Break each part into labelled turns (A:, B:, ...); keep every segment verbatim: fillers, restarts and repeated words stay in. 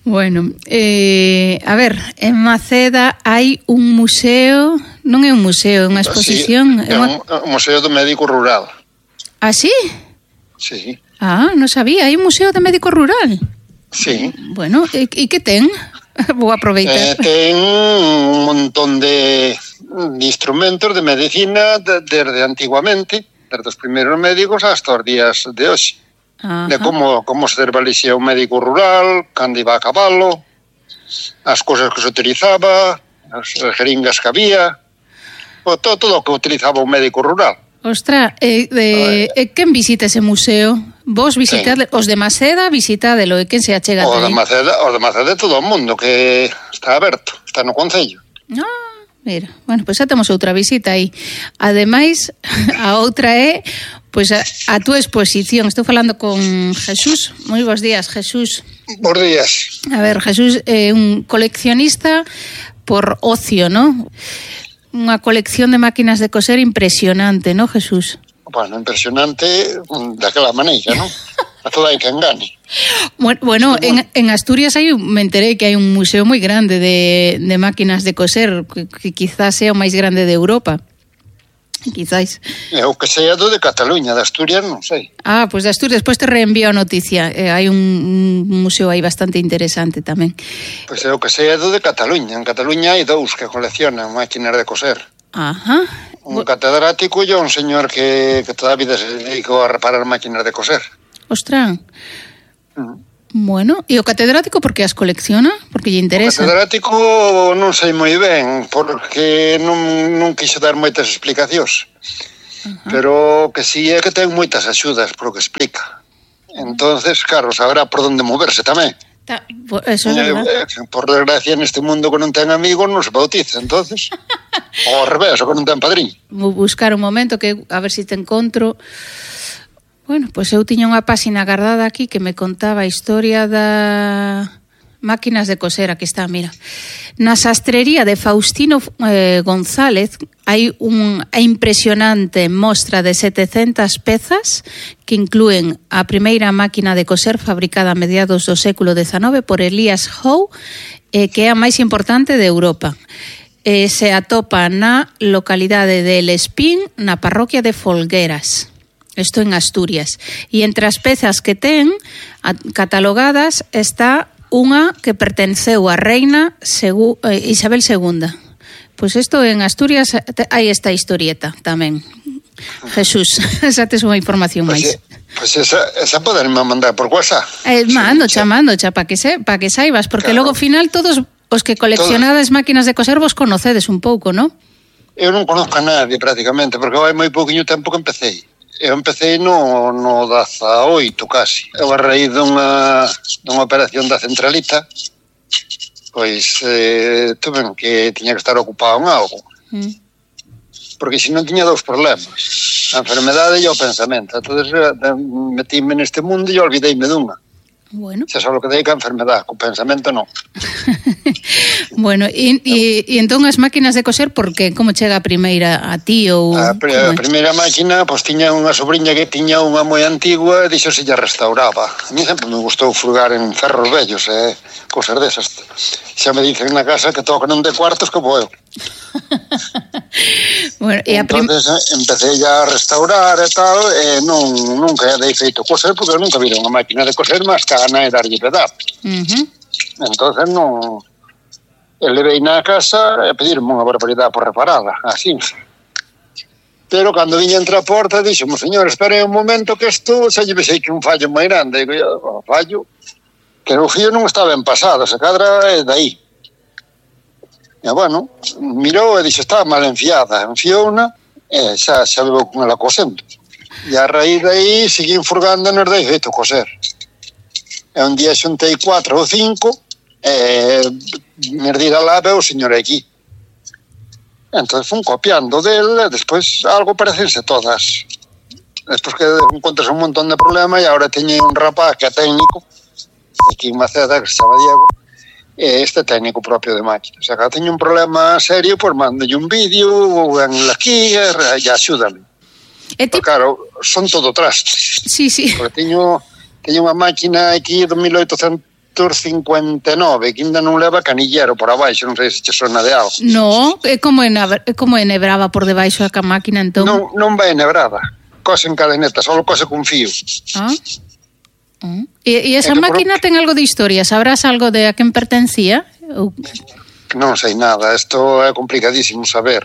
A: Bueno, eh, a ver, en Maceda hai un museo, non é un museo, é unha exposición.
B: Sí, é un, un museo do médico rural.
A: Ah, sí?
B: Sí.
A: Ah, non sabía, hai un museo de médico rural.
B: Sí.
A: Bueno, e, e que ten? Vou aproveitar.
B: Eh, ten un montón de, de instrumentos de medicina de, desde antiguamente, desde os primeiros médicos hasta os días de hoxe. Ajá. De como, como se desvalexía un médico rural, cando iba a cabalo, as cousas que se utilizaba, as jeringas que había, o todo, todo o que utilizaba un médico rural.
A: Ostra, e eh, eh, quen visita ese museo? Vos visitade, os de Maceda visitádelo, e quen se achega
B: o
A: aí?
B: De Maceda, os de Maceda todo o mundo, que está aberto, está no concello.
A: Ah, mira, bueno, pois pues xa temos outra visita aí. Ademais, a outra é pois pues, a, a túa exposición. Estou falando con Jesús. Moi bons días, Jesús.
B: Bons días.
A: A ver, Jesús é eh, un coleccionista por ocio, ¿no? Unha colección de máquinas de coser impresionante, ¿no, Jesús?
B: Bueno, impresionante daquela maneira, ¿no? A toda hai que engane.
A: Bueno, bueno en, en Asturias hai un, me enterei que hai un museo moi grande de, de máquinas de coser, que, que quizás sea o máis grande de Europa. Quizás.
B: Eu que sei do de Cataluña, de Asturias non sei.
A: Ah, pois pues de Asturias, despois te reenvío a noticia. Eh, hai un, un museo aí bastante interesante tamén.
B: Pois pues eu que sei do de Cataluña. En Cataluña hai dous que coleccionan máquinas de coser.
A: Ajá.
B: Un catedrático e un señor que, que toda a vida se dedicou a reparar máquinas de coser.
A: Ostras. Mm. Bueno, e o catedrático por que as colecciona? Porque lle interesa?
B: O catedrático non sei moi ben, porque non, non quixo dar moitas explicacións. Ajá. Pero que si é que ten moitas axudas por o que explica. Entonces, claro, saberá por onde moverse tamén.
A: Ta, eso é verdade.
B: Eh, por desgracia, neste mundo que non ten amigos non se bautiza, entonces. O ao revés, o que non ten padrín.
A: Vou buscar un momento que a ver se si te encontro. Bueno, pois eu tiña unha páxina guardada aquí que me contaba a historia da máquinas de coser. Aquí está, mira. Na sastrería de Faustino eh, González hai unha impresionante mostra de setecentas pezas que inclúen a primeira máquina de coser fabricada a mediados do século dezenove por Elias Howe, eh, que é a máis importante de Europa. Eh, se atopa na localidade de El Espín, na parroquia de Folgueras. Isto en Asturias. E entre as pezas que ten catalogadas está unha que pertenceu á reina Segu, eh, Isabel segunda. Pois isto en Asturias hai esta historieta tamén. Jesús, xa tes unha información
B: pues,
A: máis.
B: Pois pues esa, esa poderme mandar por WhatsApp.
A: Eh, mando, xa, mando, xa, para que, se, pa que saibas, porque claro, logo ao final todos os que coleccionades todos. Máquinas de coser vos conocedes un pouco, non?
B: Eu non conozco a nadie prácticamente, porque hai moi pouquinho tempo que empecé. Eu empecei no, no dezaoito casi. Eu a raíz dunha, dunha operación da centralita, pois eh, tuve que tiña que estar ocupado en algo. Mm. Porque se non tiña dous problemas. A enfermedade e o pensamento. Entón, metíme neste mundo e olvideime dunha.
A: Bueno.
B: Xa sabe o que dedica a enfermedade, co pensamento non.
A: Bueno, e, e, e entón as máquinas de coser, por que? Como chega a primeira a ti ou...
B: A, a primeira máquina, pois tiña unha sobrinha que tiña unha moi antigua e dixo se lla restauraba. A mí sempre me gustou frugar en ferros vellos e eh, cosas desas. Xa me dicen na casa que todo que non de cuartos como eu.
A: Bueno, e a prim...
B: Entonces empecé ya a restaurar e tal, e non, nunca dei feito coser, porque nunca vi unha máquina de coser máis que a gana de darlle pedazos. Uh-huh. Entonces non... Levei na casa e pedirme unha barbaridade por reparada, así. Pero cando viña entre a porta, dixo-mo, señor, espere un momento que isto xa lle vexei que un fallo moi grande. Digo, yo, fallo, que o fío non está ben pasado, se cadra é dai. E, bueno, mirou e dixo, está mal enfiada. Enfiou unha e xa, xa veo con ela cosendo. E a raíz de aí, seguín furgando nos dei feito coser. E un día xuntei cuatro ou cinco e me dira lá veo o señor aquí. Entón fun copiando del e despois algo parecense todas. Despois que encontras un montón de problemas e agora teño un rapaz que é técnico aquí en Maceda que se chama Diego e este técnico propio de máquinas. O sea, que teño un problema serio, pois mandolle un vídeo ou en aquí e axúdame. E ti... Claro, son todo trastes.
A: Sí, sí.
B: Porque teño, teño unha máquina aquí de mil oitocentos novecentos cincuenta e nove, que ainda non leva canillero por abaixo, non sei se che sona de algo.
A: No, é como, en, é como enhebraba por debaixo da máquina, entón.
B: Non, non vai enhebrada, cose en cadeneta, só cose con fío.
A: Ah. Uh. E, e esa máquina por... ten algo de historia, sabrás algo de a quen pertencía? Ou...
B: Non sei nada, isto é complicadísimo saber.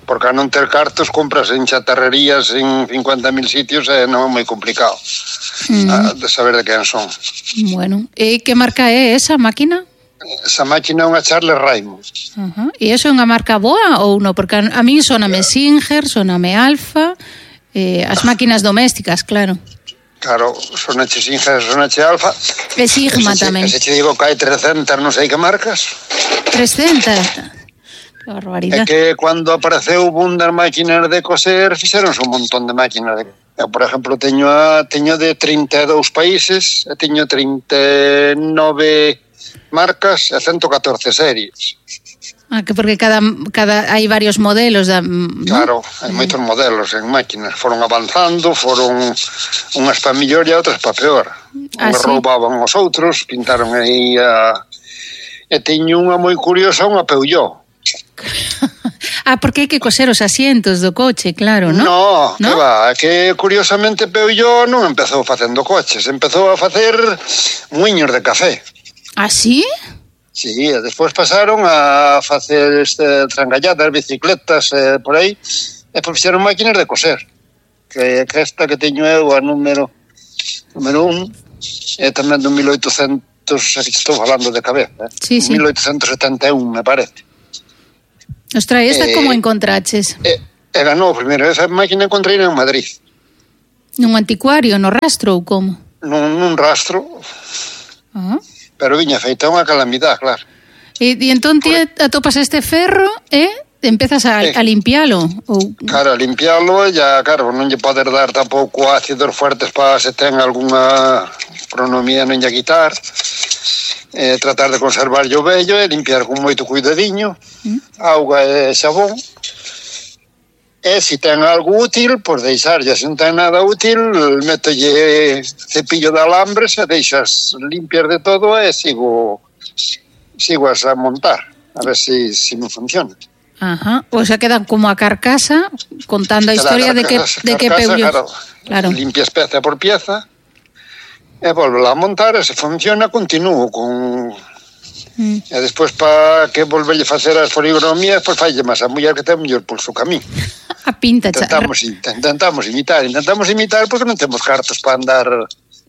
B: Porque a non ter cartos compras en chatarrerías en cincuenta mil sitios e non é moi complicado mm. de saber de quen son.
A: Bueno, e que marca é esa máquina?
B: Esa máquina é unha Charles Raymond.
A: Uh-huh. E iso é unha marca boa ou non? Porque a, a mí soname Singer, soname Alfa, eh, as máquinas domésticas, claro.
B: Claro, sonache Singer, sonache Alfa.
A: E Sigma
B: ese,
A: tamén.
B: Se che digo que hai trescentas non sei que marcas.
A: trescentas? Que barbaridade.
B: É que cando apareceu o boom das máquinas de coser, fixeronse un montón de máquinas. De... Eu, por exemplo, teño a, teño de trinta e dous países, e teño trinta e nove marcas e ciento catorce series.
A: Ah, que porque cada, cada hai varios modelos da, ¿no?
B: Claro, hai moitos modelos en máquinas. Foron avanzando, foron unhas pa mellor e outras pa peor.
A: Ah,
B: unhas
A: sí?
B: roubaban os outros, pintaron aí a... E teño unha moi curiosa, unha Peugeot.
A: Ah, porque hai que coser os asientos do coche, claro, non?
B: No, ¿no? Que va, que curiosamente Peugeot non empezou facendo coches, empezou a facer muiños de café.
A: Ah, sí?
B: Sí, e despois pasaron a facer este, trangalladas, bicicletas, eh, por aí, e despois fixeron máquinas de coser, que, que esta que teño eu, a número número un, é tamén do mil oitocentos, estou falando de cabeza, eh?
A: Sí, sí.
B: mil oitocentos setenta e un, me parece.
A: Ostras, esta eh, como encontraches?
B: Eh, e ganou primeiro, esa máquina encontrei en Madrid.
A: Nun anticuario, no rastro ou como?
B: Nun, nun rastro,
A: ah.
B: Pero viña feita unha calamidade, claro.
A: E, e entón ti atopas este ferro e empezas a, eh, a limpialo? Ou...
B: Claro, a limpialo e ya, claro, non lle poder dar tampouco ácidos fuertes para se ten algunha pronomía non lle quitar. Eh, tratar de conservar o vello e limpiar con moito cuidadiño, mm. auga e xabón. E se ten algo útil, pois deixarlle. Se non ten nada útil, métolle cepillo de alambres e deixas limpiar de todo e sigo sigo a montar, a ver se si, si me funciona.
A: Ajá, o sea, quedan como a carcasa contando a historia de que de que Peugeot.
B: Claro, claro. Limpias pieza por pieza e volvo a montar e se funciona, continúo con... Mm. E despois para que volverlle facer as poligromías, pois falle máis a muller que ten mellor pulso que a mí.
A: A pinta,
B: intentamos, intentamos imitar, intentamos imitar porque non temos cartos para andar.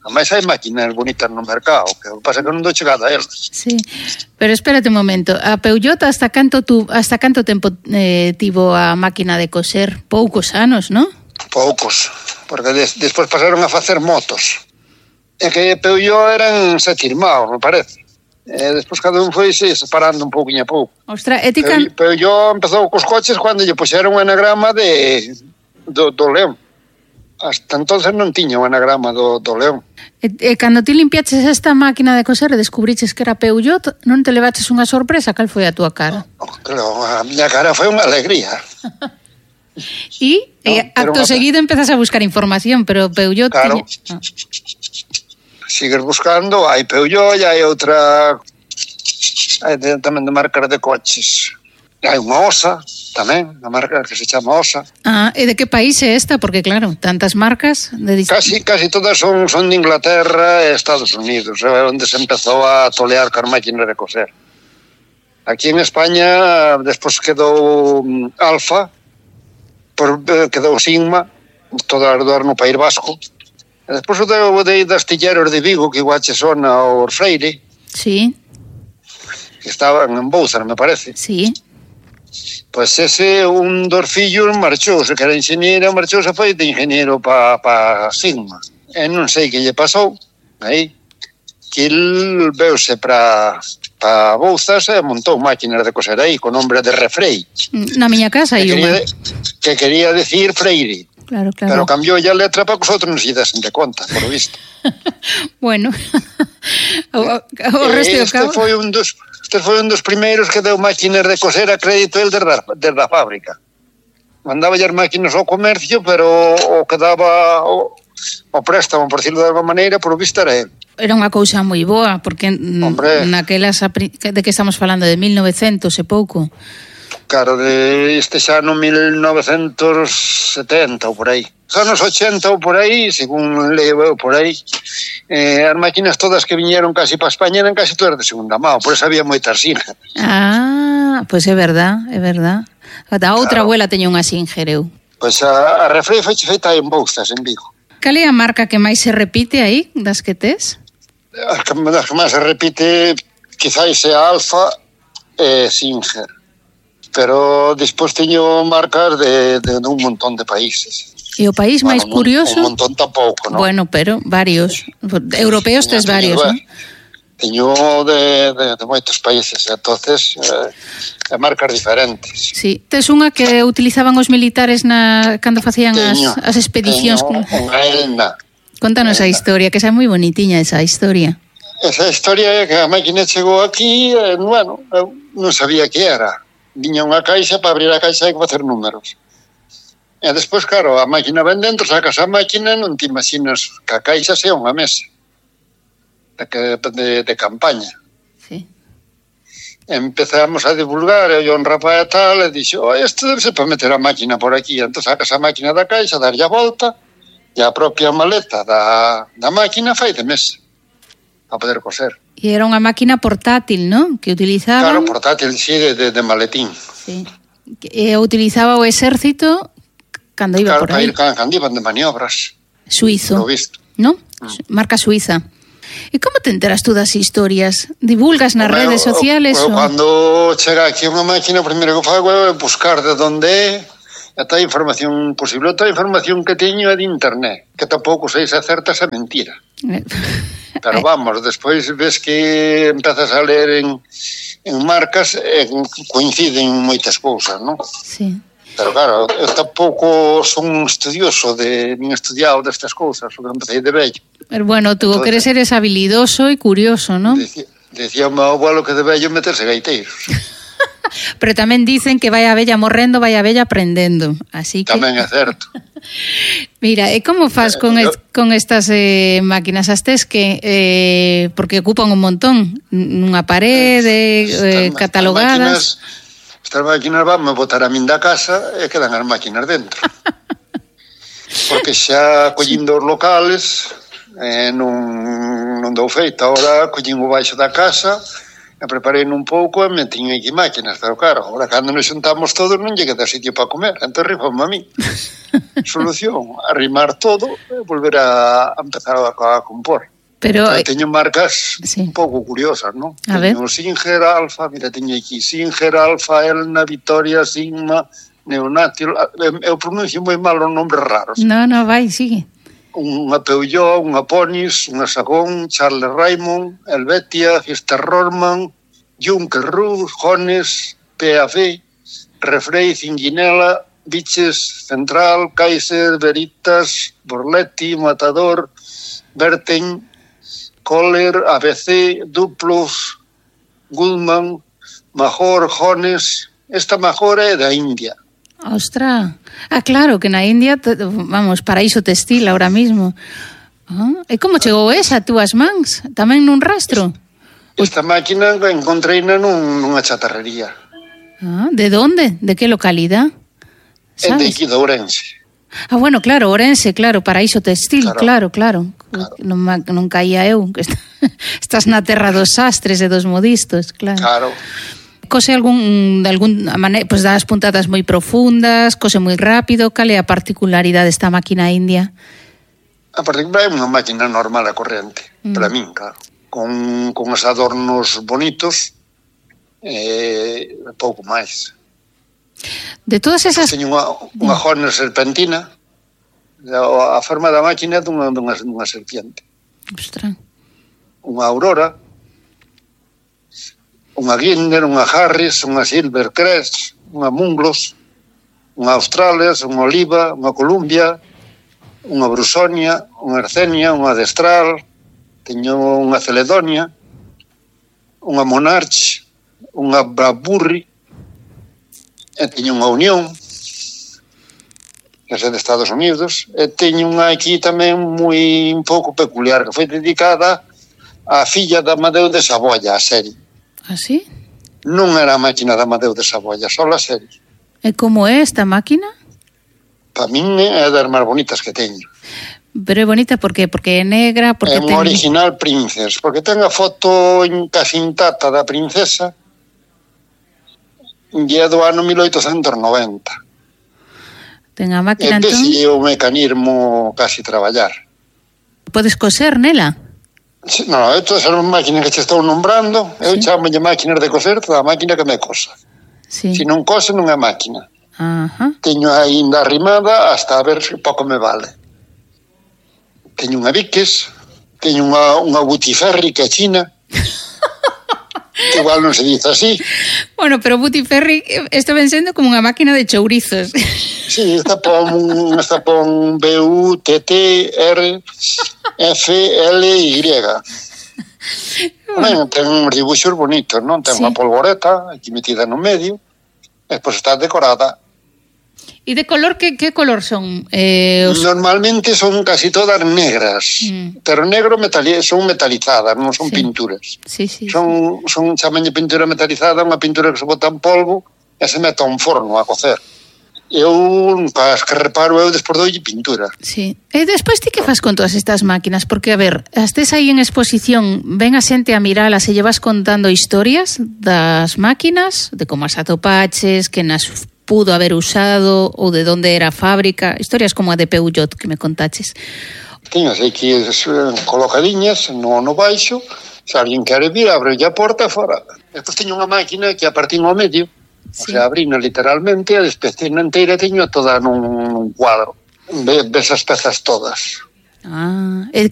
B: A máis hai máquinas bonitas no mercado, que pasa que non dou chegada a elas.
A: Sí, pero espérate un momento. A Peugeot hasta canto tu, hasta canto tempo eh, tivo a máquina de coser? Poucos anos, non?
B: Poucos, porque des, despois pasaron a facer motos. E que Peugeot eran sete irmãos, me parece. E despois cada un foi se separando un pouquinho a pouco.
A: Ostras, e ti can...
B: Peugeot empezou cos coches cando lle puxeron un anagrama de do, do león. Hasta entonces non tiña un anagrama do, do león.
A: E, e cando ti limpiaches esta máquina de coser e descubriches que era Peugeot, non te levaches unha sorpresa? Cal foi a túa cara?
B: Oh, claro, a miña cara foi unha alegría.
A: E, no, e acto seguido empezas a buscar información, pero Peugeot...
B: Claro.
A: Tiña... Ah.
B: Sigues buscando, hai Peugeot e hai outra, hai de, tamén de marcas de coches. Hai unha Osa tamén, unha marca que se chama Osa.
A: Ah, e de que país é esta? Porque claro, tantas marcas de dist...
B: Casi, casi todas son, son de Inglaterra e Estados Unidos, é onde se empezou a tolear con máquinas de coser. Aquí en España despois quedou Alfa, por, quedou Sigma, todo alrededor no País Vasco. E despois o de, de astilleros de Vigo, que igual che sona o Freire.
A: Sí.
B: Que estaban en Bouzar, me parece.
A: Sí.
B: Pois ese, un dos fillos marchouse, que era ingeniero, marchouse foi de ingeniero para pa Sigma. E non sei que lle pasou, aí, que el veuse para pa Bouzas e montou máquinas de coser aí, con nombre de Refrei.
A: Na miña casa hai unha.
B: Que quería decir Freire.
A: Claro, claro.
B: Pero cambiou a letra para que os outros non se desen de conta, por visto.
A: Bueno, o, o resto do cabo...
B: Este foi un dos, este foi un dos primeiros que deu máquinas de coser a crédito el desde, desde a fábrica. Mandaba as máquinas ao comercio, pero o que daba o, o préstamo, por decirlo de alguma maneira, por visto era el.
A: Era unha cousa moi boa, porque Hombre, naquelas, de que estamos falando, de mil novecentos e pouco.
B: Claro, de este xa no mil novecentos setenta ou por aí. Os anos ochenta ou por aí, según leo eu por aí, eh, as máquinas todas que viñeron casi para España eran casi todas de segunda mão, por eso había moitas Singer.
A: Ah, pois pues é verdad, é verdad. A outra claro. Abuela teña unha Singer, eu.
B: Pois pues a, a Refrei foi feita en Bouzas, en Vigo.
A: Cal é a marca que máis se repite aí, das que tes?
B: As que, as que máis se repite quizáis é Alfa e Singer, pero despois teño marcas de, de, de un montón de países.
A: E o país bueno, máis curioso?
B: Un montón tampouco, non?
A: Bueno, pero varios. Europeos tes varios, non?
B: Teño de, de, de moitos países, entonces eh, marcas diferentes.
A: Sí, tes unha que utilizaban os militares na cando facían teño, as, as expedicións.
B: Teño unha Elna.
A: Contanos a historia, que xa é moi bonitiña esa historia.
B: Esa historia é que a máquina chegou aquí, e, bueno, eu non sabía que era. Viña unha caixa, para abrir a caixa hai que facer números. E despois, claro, a máquina ven dentro, sacas a máquina, non te imaginas que a caixa sea unha mesa de, de, de campaña.
A: Sí.
B: Empezamos a divulgar, e o rapaz e tal, e dixo, oh, isto debe ser para meter a máquina por aquí. Entón sacas a máquina da caixa, darlle a volta, e a propia maleta da, da máquina fai de mesa para poder coser.
A: E era unha máquina portátil, non? Que utilizaban...
B: Claro, portátil, sí, de, de, de maletín.
A: Sí. E utilizaba o exército cando iba
B: claro,
A: por aí.
B: Claro, cando iban de maniobras.
A: Suizo, non? Mm. Marca suiza. E como te enteras tú das historias? Divulgas nas Hombre, redes sociales?
B: O, o, o... Cando chega aquí unha máquina, o primeiro que fago é buscar de onde é, ata a información posible. Outra información que teño é de internet, que tampouco sei se acerta se mentira. Pero vamos, despois ves que empezas a ler en, en marcas e coinciden moitas cousas, non?
A: Sí.
B: Pero claro, eu tampouco son estudioso de, nin estudiado destas cousas, o que empecé de vello.
A: Pero bueno, tú que eres eres habilidoso e curioso, non?
B: Decía, decía o meu abuelo que de vello meterse gaiteiros.
A: Pero tamén dicen que vai a vella morrendo, vai a vella aprendendo, así que...
B: Tamén é certo.
A: Mira, e como faz con, es, con estas eh, máquinas? As tes que, eh, porque ocupan un montón, nunha parede, eh, catalogadas...
B: Estas máquinas van a botar a min da casa e quedan as máquinas dentro. Porque xa collindo os locales eh, non, non dou feito. Ahora collín o baixo da casa e preparei un pouco e metín aquí máquinas. Pero claro, ahora cando nos xuntamos todos non lle queda sitio para comer. Entón rifame a mí. Solución, arrimar todo e volver a, a empezar a, a compor. Pero claro, teño marcas sí. un pouco curiosas, non?
A: A
B: teño
A: ver.
B: Singer, Alfa, mira, teño aquí Singer, Alfa, Elna, Victoria, Sigma, Neonatil, eu pronuncio moi mal os nombres raros.
A: No, no, vai, sigue.
B: Unha Peugeot, unha Ponis, unha Sagón, Charles Raymond, Helvetia, Fiesta Rorman, Junker Rus, Jones, P A V, Refrei, Cinginela, Biches, Central, Kaiser, Veritas, Borletti, Matador, Berten, Kohler, A B C, Duplos, Goodman, Major, Jones. Esta Major é da India.
A: Ostra, ah, claro, que na India, vamos, paraíso textil ahora mismo. Ah, e como chegou esa a túas mans? Tamén nun rastro?
B: Esta máquina encontreina nun, nunha chatarrería.
A: Ah, de donde? De que localidad?
B: É de aquí de Ourense.
A: Ah, bueno, claro, Ourense, claro, paraíso textil, claro, claro. claro. Non, non caía eu, que estás na terra dos sastres e dos modistos, claro.
B: Claro.
A: Cose algún, de algún maneira, pues das puntadas moi profundas, cose moi rápido, cal é a particularidade desta máquina india?
B: A particularidade é unha máquina normal e corrente, mm. para min, claro. Con, con os adornos bonitos, e eh, pouco máis.
A: De todas esas...
B: Teño unha, unha Horner serpentina, a forma da máquina é dunha, dunha, dunha serpiente.
A: Ostras.
B: Unha Aurora, unha Gindner, unha Harris, unha Silvercrest, unha Munglos, unha Australes, unha Oliva, unha Columbia, unha Brusonia, unha Arcenia, unha Destral, teño unha Celedonia, unha Monarch, unha Bradbury, e teño unha Unión, que é de Estados Unidos, e teño unha aquí tamén moi un pouco peculiar, que foi dedicada a filla de Amadeo de Saboya, a serie.
A: Ah, sí?
B: Non era a máquina de Amadeo de Saboya, só a serie.
A: E como é esta máquina?
B: Para min é das máis bonitas que teño.
A: Pero é bonita por qué? Porque é negra, porque
B: é un
A: ten...
B: original Princess, porque ten a foto casi intacta da princesa e é do ano mil oitocentos noventa.
A: Ten a máquina,
B: e
A: entón...
B: E o mecanismo casi traballar.
A: Podes coser nela?
B: Sí, non, isto é unha máquina que che estou nombrando, eu
A: sí.
B: chamo de máquinas de coser toda a máquina que me cosa.
A: Sí.
B: Se non cose non é máquina.
A: Ajá.
B: Teño ainda arrimada hasta a ver se pouco me vale. Teño unha Vickers, teño unha, unha Butiferri que é china, que igual non se dice así.
A: Bueno, pero Butiferri está ven sendo como unha máquina de chourizos.
B: Sí, está pon, está pon B U T T R F L Y. Bueno, ten uns dibuixos bonitos, non? Ten sí. Unha polvoreta aquí metida no medio, e pois está decorada.
A: E de color, que, que color son? Eh, os...
B: Normalmente son casi todas negras, mm. pero negro metali son metalizadas, non son sí. pinturas.
A: Sí, sí,
B: son,
A: sí.
B: son chamañe pintura metalizada, unha pintura que se bota en polvo e se mete a un forno a cocer. Eu, para as que reparo, eu despois doulle pintura.
A: Sí. E despois ti que fas con todas estas máquinas? Porque, a ver, estes aí en exposición, ven a xente a miralas e llevas contando historias das máquinas, de como as atopaches, que nas pudo haber usado ou de onde era a fábrica, historias como a de Peugeot que me contaches.
B: Teño aquí colocadiñas no, no baixo, se alguén quere vir, abre a porta fora. Despois teño unha máquina que a partir no medio, sí. O sea, abrina literalmente, a despecina inteira teño toda nun, nun cuadro. Ves as pezas todas.
A: Ah, e